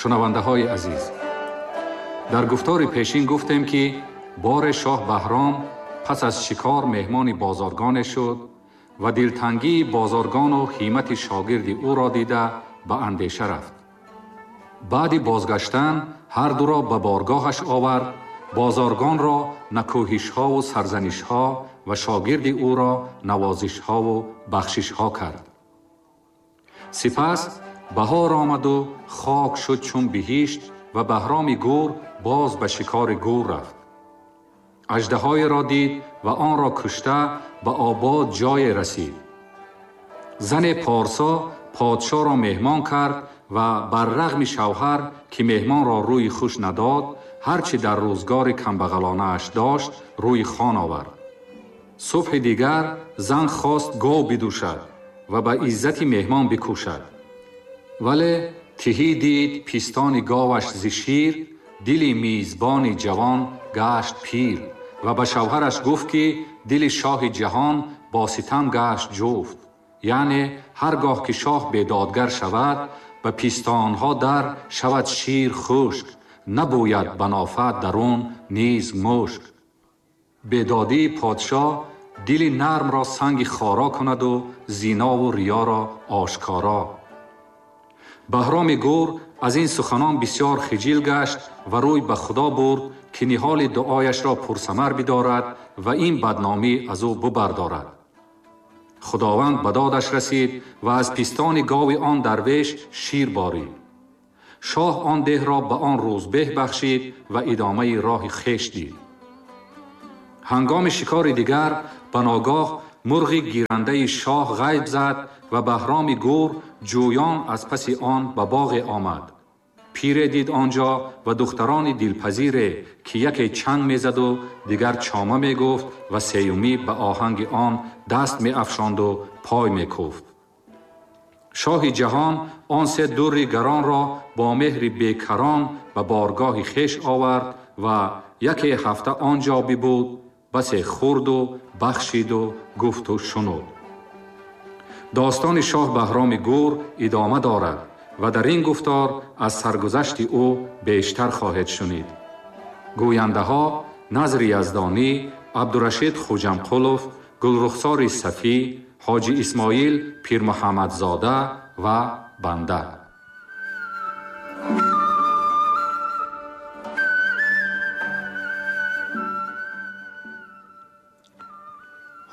Шунавандаҳои азиз, дар гуфтори пешин гуфтем, ки боре шоҳ Баҳром пас аз шикор меҳмони бозоргоне шуд ва дилтангии бозоргону ҳиммати шогирди ӯро дида ба андеша рафт. Баъди бозгаштан ҳар дуро ба боргоҳаш овард, бозоргонро накӯҳишҳову сарзанишҳо ва шогирди ӯро навозишҳову бахшишҳо кард. Сипас баҳор омаду хок шуд чун биҳишт ва Баҳроми гур боз ба шикори гур рафт. Аждаҳоеро дид ва онро кушта ба обод ҷое расид. Зане порсо подшоҳро меҳмон кард ва бар рағми шавҳар, ки меҳмонро рӯи хуш надод, ҳар чӣ дар рӯзгори камбағалонааш дошт, рӯи хон овард. Субҳи дигар зан хост гов бидӯшад ва ба иззати меҳмон бикӯшад. Вале тиҳӣ дид пистони говаш зи шир, дили мизбони ҷавон гашт пир ва ба шавҳараш гуфт, ки дили шоҳи ҷаҳон бо ситам гашт ҷуфт. Яъне ҳар гоҳ ки шоҳ бедодгар шавад, ба пистонҳо дар шавад шир хушк, набӯяд ба нофа дарун низ мушк. Бедодии подшоҳ дили нармро санги хоро кунаду зинову риёро ошкоро. Баҳроми гур аз ин суханон бисёр хиҷил гашт ва рӯй ба Худо бурд, ки ниҳоли дуояшро пурсамар бидорад ва ин бадномӣ аз ӯ бубардорад. Худованд ба додаш расид ва аз пистони гови он дарвеш шир борид. Шоҳ он деҳро ба он рӯзбеҳ бахшид ва идомаи роҳи хеш дид. Ҳангоми шикори дигар ба ногоҳ мурғи гирандаи шоҳ ғайб зад ва Баҳроми гур ҷӯён аз паси он ба боғе омад. Пире дид он ҷо ва духтарони дилпазире, ки яке чанг мезаду дигар чома мегуфт ва сеюмӣ ба оҳанги он даст меафшонду пой мекуфт. Шоҳи ҷаҳон он се дурри гаронро бо меҳри бекарон ба боргоҳи хеш овард ва яке ҳафта он ҷо бибуд, басе хӯрду бахшиду гуфту шунуд. Достони шоҳ Баҳроми гур идома дорад ва дар ин гуфтор аз саргузашти ӯ бештар хоҳед шунид. Гӯяндаҳо Назри Яздонӣ, Абдурашид Хуҷамқулов, Гулрухсори Сафӣ, Ҳоҷи Исмоил Пирмуҳаммадзода ва банда.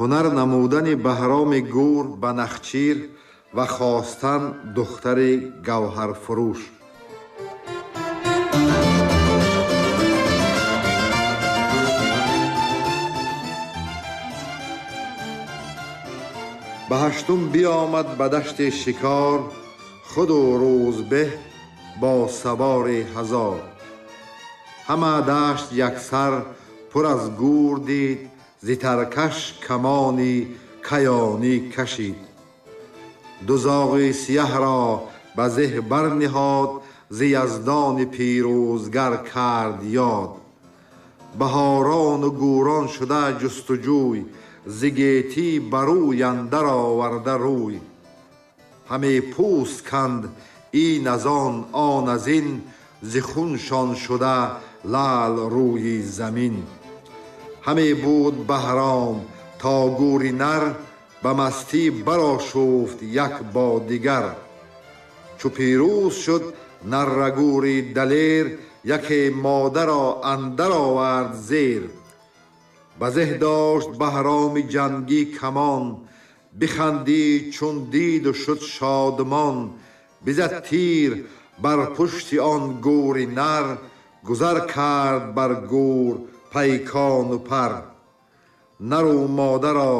Ҳунар намудани Баҳроми гур ба нахчир ва хостан духтари гавҳарфурӯш. Ба ҳаштум биомад ба дашти шикор, худу рӯзбеҳ бо савори ҳазор. Ҳама дашт яксар пур аз гур дид, зи таркаш камони каёнӣ кашид. Ду зоғи сияҳро ба зеҳ барниҳод, зи яздони пирӯзгар кард ёд. Баҳорону гӯрон шуда ҷустуҷӯй, зи гетӣ ба рӯй андар оварда рӯй. Ҳаме пӯст канд ин аз он, он аз ин, зи хуншон шуда лаъл рӯи замин. Ҳаме буд Баҳром то гӯри нар, ба мастӣ барошуфт як бо дигар. Чу пирӯз шуд наррагӯри далер, яке модаро андар овард зер. Ба зеҳ дошт Баҳроми ҷангӣ камон, бихандид чун диду шуд шодмон. Бизад тир бар пушти он гӯри нар, гузар кард бар гӯр пайкону пар. Нару модаро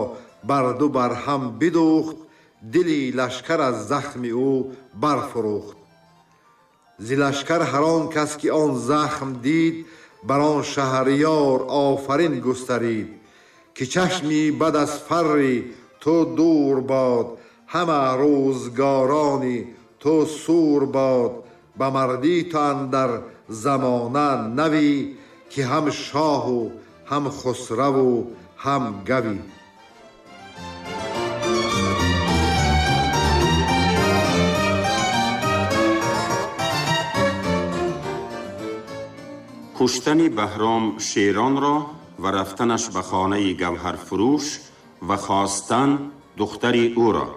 барду бар ҳам бидӯхт, дили лашкар аз захми ӯ барфурӯхт. Зи лашкар ҳар он кас ки он захм дид, бар он шаҳриёр офарин густарид, ки чашми бад аз фарри ту дур бод, ҳама рӯзгорони ту сур бод. Ба мардӣ ту андар замона навӣ, ки ҳам шоҳу ҳам хусраву ҳам гавӣ. Куштани Баҳром шеронро ва рафтанаш ба хонаи гавҳарфурӯш ва хостан духтари ӯро.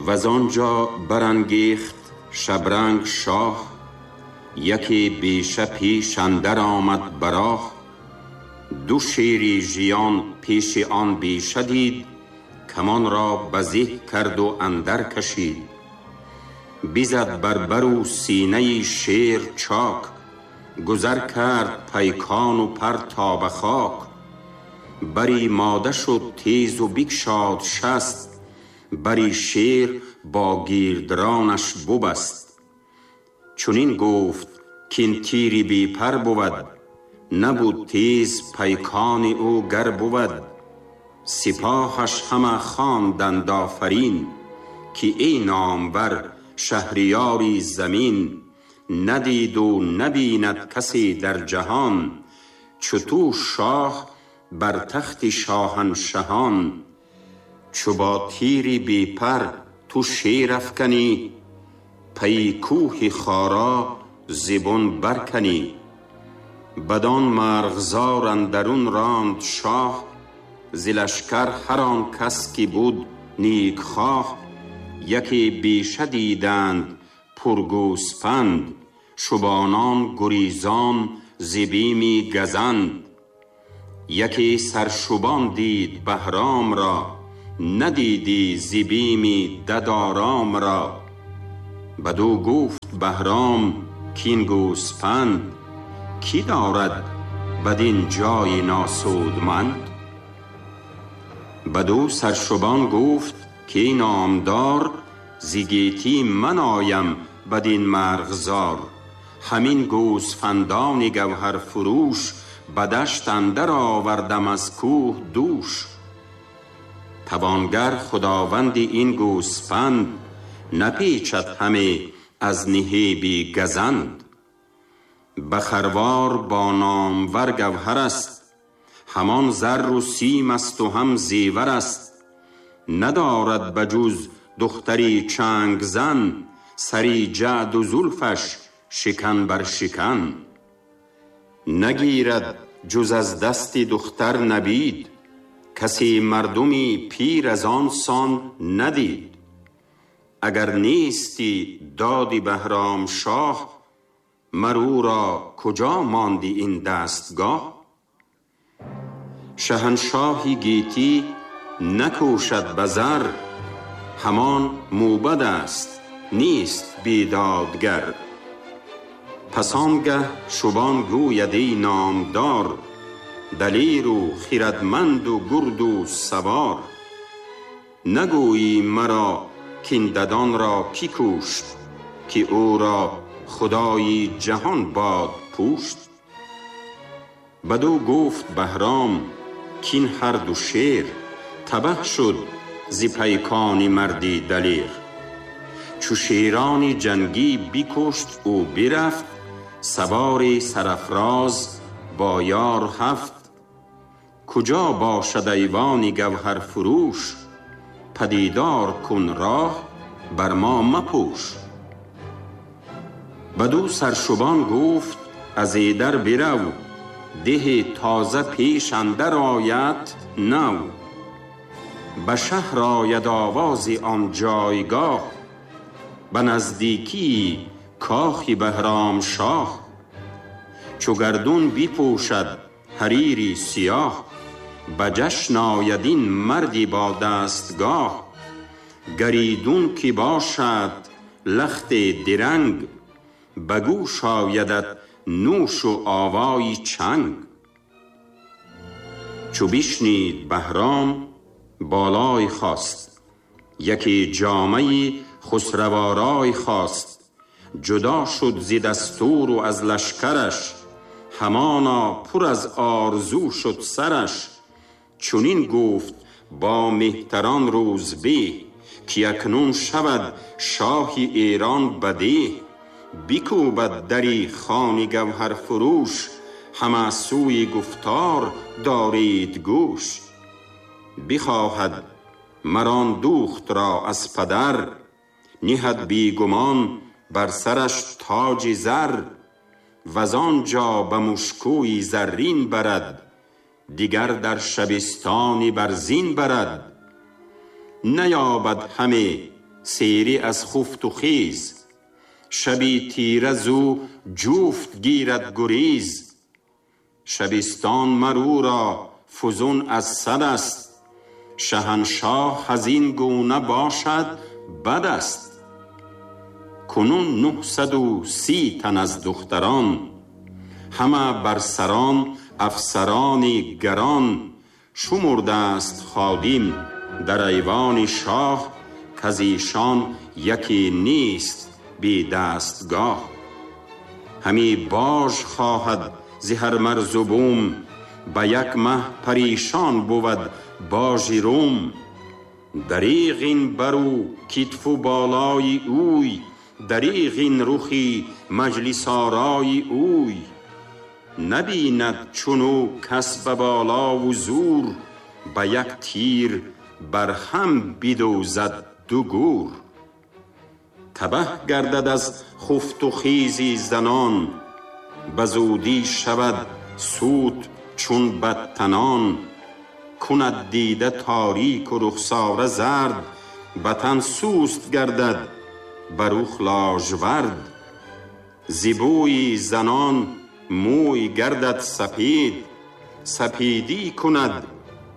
و آنجا برانگیخت شبرنگ شاه، یکی بیشه پیش اندر آمد براه. دو شیری ژیان پیش آن بیشه دید، کمان را بزه کرد و اندر کشید. بزد بر بر و سینه شیر چاک، گذر کرد پیکان و پر تا به خاک. بری ماده شد تیز و بگشاد شست، بری شیر با گیردرانش ببست. چنین گفت کاین تیری بی پر بود، نبود تیز پیکان او گر بود. سپاهش همه خواندند آفرین، که ای نامور شهریاری زمین. ندید و نبیند کسی در جهان، چو تو شاه بر تخت شاهنشهان. چو با تیری بی پر تو شیر افکنی، پی کوه خارا ز بن برکنی. بدان مرغزار اندرون راند شاه، ز لشکر هر آن کس که بود نیک خواه. یکی بیشه دیدند پرگوسپند، شبانان گریزان ز بیمی گزند. یکی سرشبان دید بهرام را، ندیدی ز بیمی دد آرام را. بدو گفت بهرام کاین گوسپند، کی دارد بدین جای ناسودمند؟ بدو سرشبان گفت که ای نامدار، ز گیتی من آیم بدین مرغزار. همین گوسفندان گوهر فروش، به دشت اندر آوردم از کوه دوش. توانگر خداوند این گوسفند، نپیچد همه از نهیبی گزند. به خروار با نامور گوهر است، همان زر و سیم است و هم زیور است. ندارد بجز دختری چنگ زن، سری جعد و زلفش شکن بر شکن. نگیرد جز از دست دختر نبید، کسی مردمی پیر از آن سان ندید. اگر نیستی دادی بهرام شاه، مر او را کجا ماندی این دستگاه؟ شهنشاهی گیتی نکوشد به زر، همان موبد است نیست بیدادگر. پس آنگه شبان گوید ای نامدار، دلیر و خردمند و گرد و سوار. نگویی مرا کاین ددان را کی کشت، که او را خدایی جهان باد پوشت. بدو گفت بهرام کاین هر دو شیر، تبه شد ز پیکان مردی دلیر. چو شیران جنگی بکشت او برفت، سوار سرافراز با یار هفت. کجا باشد ایوان گوهر فروش، پدیدار کن راه بر ما مپوش. بدو سرشبان گفت از ایدر برو، ده تازه پیش اندر آید نو. به شهر آید آواز آن جایگاه، به نزدیکی کاخ بهرام شاه. چو گردون بپوشد حریری سیاه، به جشن آید این مردی با دستگاه. گریدون که باشد لخت درنگ، به گوش آیدت نوش و آوای چنگ. چو بشنید بهرام بالای خواست، یکی جامه خسروآرای خواست. جدا شد ز دستور و از لشکرش، همانا پر از آرزو شد سرش. چنین گفت با مهتران روزبه، که اکنون شود شاه ایران بده. بکوبد دری خان گوهر فروش، همه سوی گفتار دارید گوش. بخواهد مر آن دخت را از پدر، نهد بی گمان بر سرش تاج زر. وز آنجا به مشکوی زرین برد، دیگر در شبستانی بر زین برد. نیابد همه سیری از خفت و خیز، شبی تیره زو جفت گیرد گریز. شبستان مر او را فزون از صد است، شهنشاه از این گونه باشد بد است. کنون 930 تن از دختران، همه بر سران افسران گران. شمرده است خادم در ایوان شاه، کز ایشان یکی نیست بی دستگاه. همی باژ خواهد ز هر مرز و بوم، به یک مه پریشان بود باژ روم. دریغ این بر او کتف و بالای اوی، دریغ این رخی مجلس آرای اوی. نبیند چون او کس به بالا و زور، به یک تیر بر هم بدوزد دو گور. تبه گردد از خفت و خیز زنان، به زودی شود سوت چون بدتنان. کند دیده تاریک و رخساره زرد، به تن سست گردد بر رخ لاژورد. ز بوی زنان موی گردد سپید، سپیدی کند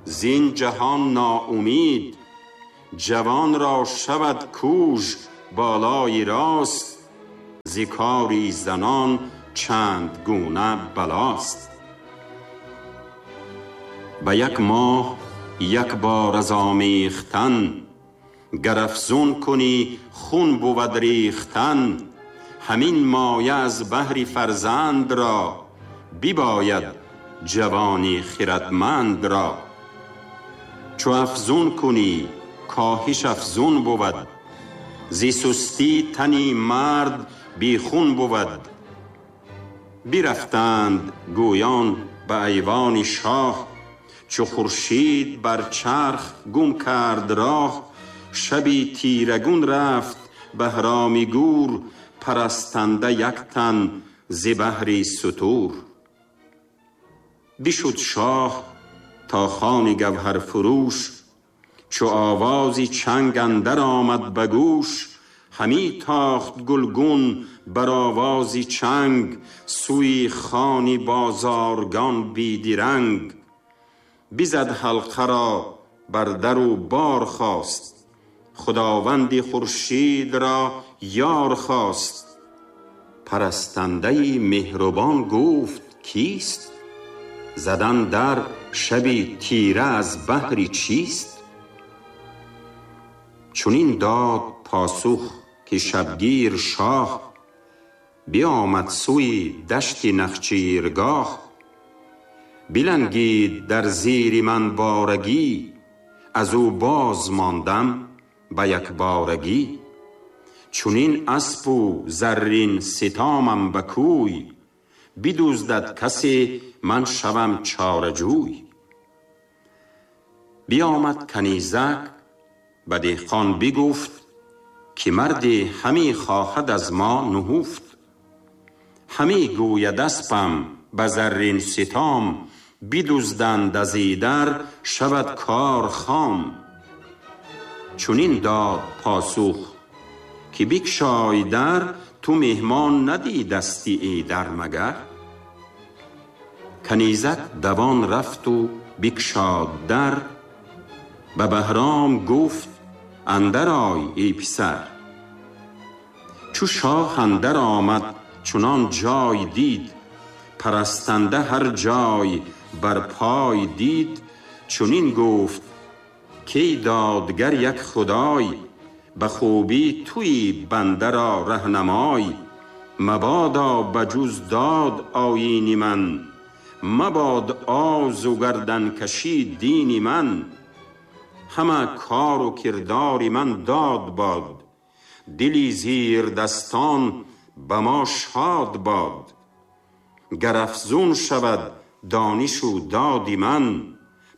زین جهان ناامید. جوان را شود کوژ بالای راست، ز کاری زنان چند گونه بلاست. به یک ماه یک بار از آمیختن، گر افزون کنی خون بود ریختن. همین مایه از بهر فرزند را، بباید جوانی خردمند را. چو افزون کنی کاهش افزون بود، ز سستی تنی مرد بی خون بود. برفتند گویان به ایوان شاه، چو خورشید بر چرخ گم کرد راه. شبی تیرگون رفت بهرام گور، پرستنده یک تن ز بهر ستور. بشد شاه تا خان گوهر فروش، چو آواز چنگ اندر آمد به گوش. همی تاخت گلگون بر آواز چنگ، سوی خان بازارگان بی درنگ. بزد حلقه را بر در و بار خواست، خداوند خورشید را یار خواست. پرستنده مهربان گفت کیست؟ زدن در شبی تیره از بهر چیست؟ چنین داد پاسخ که شبگیر شاه، بیامد سوی دشت نخچیرگاه. بلنگید در زیر من بارگی، از او باز ماندم به یک بارگی. چنین اسپ و زرین ستامم به کوی، بدزدد کسی من شوم چاره جوی. بیامد کنیزک به دهقان بگفت، که مردی همی خواهد از ما نهفت. همی گوید اسپم به زرین ستام، بدزدند از ایدر شود کار خام. چنین داد پاسخ که بگشای در، تو مهمان ندیدستی ایدر مگر. کنیزک دوان رفت و بگشاد در، به بهرام گفت اندر آی ای پسر. چو شاه اندر آمد چنان جای دید، پرستنده هر جای بر پای دید. چنین گفت کی دادگر یک خدای، به خوبی تویی بنده را رهنمای. مبادا بجز داد آیین من، مباد آز و گردن کشی دین من. همه کار و کردار من داد باد، دلی زیر دستان به ما شاد باد. گر افزون شود دانش و داد من،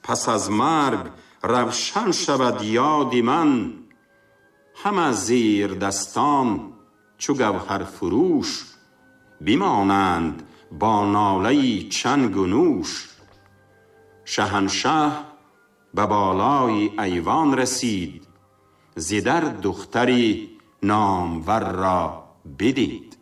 پس از مرگ равшан шавад ёди ман. Ҳама зирдастон чу гавҳарфурӯш, бимонанд бо нолаи чанг у нӯш. Шаҳаншаҳ ба болои айвон расид, зи дар духтари номвар ро бидид.